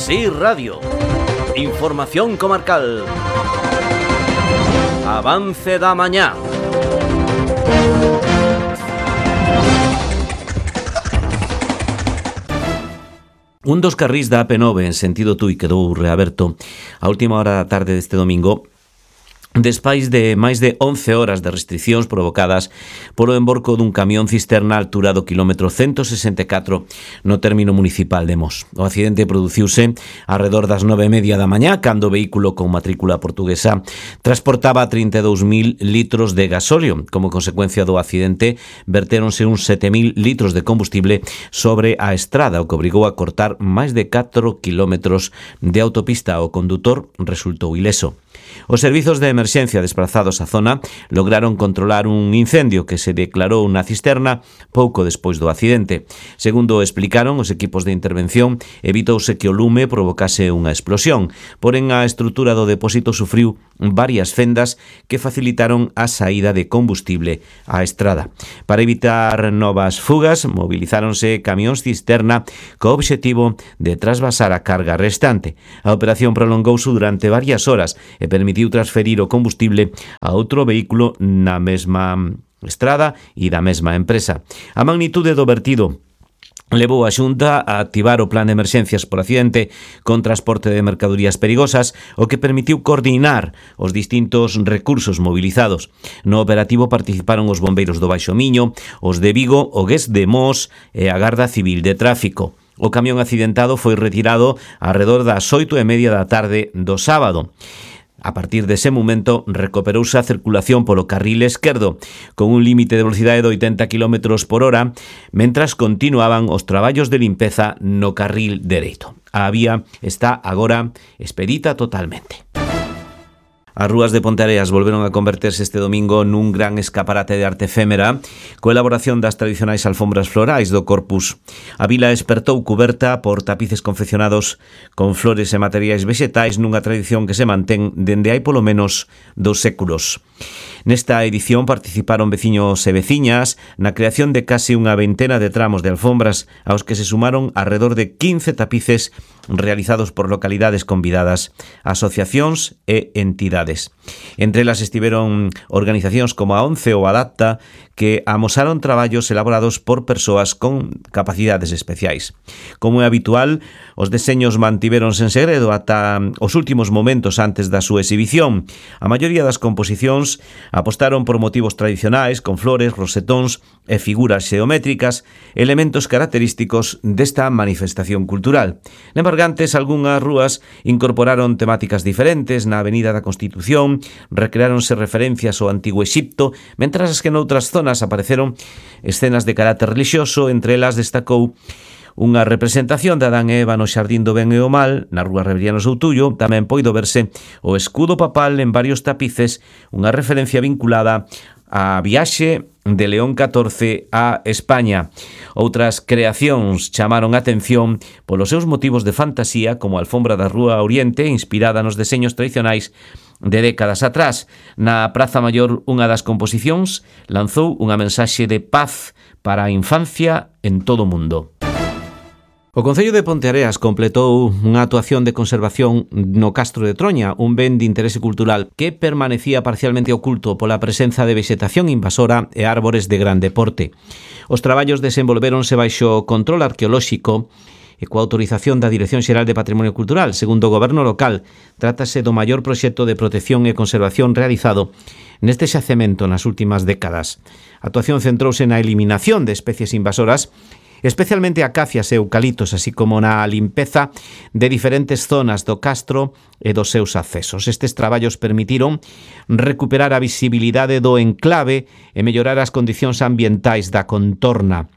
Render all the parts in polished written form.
Sí Radio. Información comarcal. Avance da mañá. Un dos carrís da AP9 en sentido Tui quedou reaberto a última hora da tarde deste domingo despois de máis de 11 horas de restriccións provocadas polo emborco dun camión cisterna a altura do quilómetro 164 no término municipal de Mos. O accidente produciuse arredor das 9:30 da mañá cando o vehículo con matrícula portuguesa transportaba 32.000 litros de gasóleo. Como consecuencia do accidente, vertéronse uns 7.000 litros de combustible sobre a estrada, o que obrigou a cortar máis de 4 kilómetros de autopista. O condutor resultou ileso. Os servizos de emerxencia desprazados á zona lograron controlar un incendio que se declarou na cisterna pouco despois do accidente. Segundo explicaron os equipos de intervención, evitouse que o lume provocase unha explosión, porén a estrutura do depósito sufriu varias fendas que facilitaron a saída de combustible á estrada. Para evitar novas fugas, movilizáronse camións cisterna co obxectivo de trasvasar a carga restante. A operación prolongouse durante varias horas e permitiu transferir o combustible a outro vehículo na mesma estrada e da mesma empresa. A magnitude do vertido levou a Xunta a activar o plan de emerxencias por accidente con transporte de mercadorías perigosas, o que permitiu coordinar os distintos recursos movilizados. No operativo participaron os bombeiros do Baixo Miño, os de Vigo, o GES de Mos e a Garda Civil de Tráfico. O camión accidentado foi retirado arredor das 8:30 da tarde do sábado. A partir dese momento recuperouse a circulación polo carril esquerdo con un límite de velocidade de 80 km por hora, mentras continuaban os traballos de limpeza no carril dereito. A vía está agora expedita totalmente. As rúas de Ponteareas volveron a converterse este domingo nun gran escaparate de arte efémera coa elaboración das tradicionais alfombras florais do Corpus. A vila espertou cuberta por tapices confeccionados con flores e materiais vexetais nunha tradición que se mantén dende hai polo menos 2 séculos. Nesta edición participaron veciños e veciñas na creación de case unha veintena de tramos de alfombras aos que se sumaron alrededor de 15 tapices realizados por localidades convidadas, asociacións e entidades. Entre elas estiveron organizacións como a ONCE ou Adapta, que amosaron traballos elaborados por persoas con capacidades especiais. Como é habitual, os deseños mantiveronse en segredo ata os últimos momentos antes da súa exhibición. A maioría das composicións apostaron por motivos tradicionais, con flores, rosetóns e figuras xeométricas, elementos característicos desta manifestación cultural. En Bergantes, algunhas rúas incorporaron temáticas diferentes. Na Avenida da Constitución recreáronse referencias ao Antigo Exipto, mentras que noutras zonas apareceron escenas de carácter religioso. Entre elas destacou unha representación de Adán e Eva no Xardín do Ben e o Mal, na rúa Reveriano Soutullo. Tamén poido verse o escudo papal en varios tapices, unha referencia vinculada á viaxe de León XIV a España. Outras creacións chamaron a atención polos seus motivos de fantasía, como a alfombra da Rúa Oriente, inspirada nos deseños tradicionais de décadas atrás. Na Praza Maior, unha das composicións lanzou unha mensaxe de paz para a infancia en todo o mundo. O Concello de Ponteareas completou unha actuación de conservación no Castro de Troña, un ben de interese cultural que permanecía parcialmente oculto pola presenza de vexetación invasora e árbores de grande porte. Os traballos desenvolvéronse baixo control arqueolóxico e coa autorización da Dirección Xeral de Patrimonio Cultural. Segundo o Goberno local, trátase do maior proxecto de protección e conservación realizado neste xacemento nas últimas décadas. A actuación centrouse na eliminación de especies invasoras, especialmente acacias e eucaliptos, así como na limpeza de diferentes zonas do castro e dos seus accesos. Estes traballos permitiron recuperar a visibilidade do enclave e mellorar as condicións ambientais da contorna.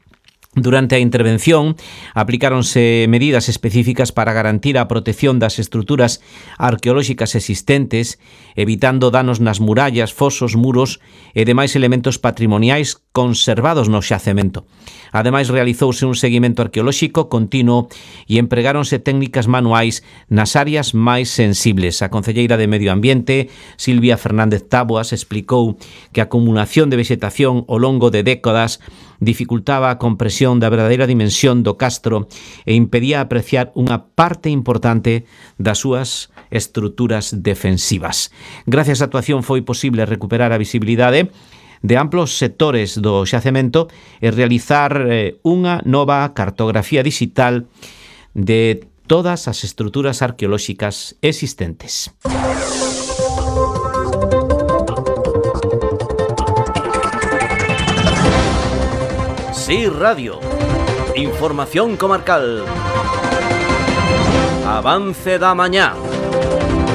Durante a intervención, aplicáronse medidas específicas para garantir a protección das estruturas arqueolóxicas existentes, evitando danos nas murallas, fosos, muros e demais elementos patrimoniais conservados no xacemento. Ademais, realizouse un seguimento arqueolóxico continuo e empregáronse técnicas manuais nas áreas máis sensibles. A concelleira de Medio Ambiente, Silvia Fernández Táboas, explicou que a acumulación de vexetación ao longo de décadas dificultaba a compresión da verdadeira dimensión do castro e impedía apreciar unha parte importante das súas estruturas defensivas. Gracias á actuación foi posible recuperar a visibilidade de amplos sectores do xacemento e realizar unha nova cartografía digital de todas as estruturas arqueolóxicas existentes. Sí Radio. Información comarcal. Avance da mañá.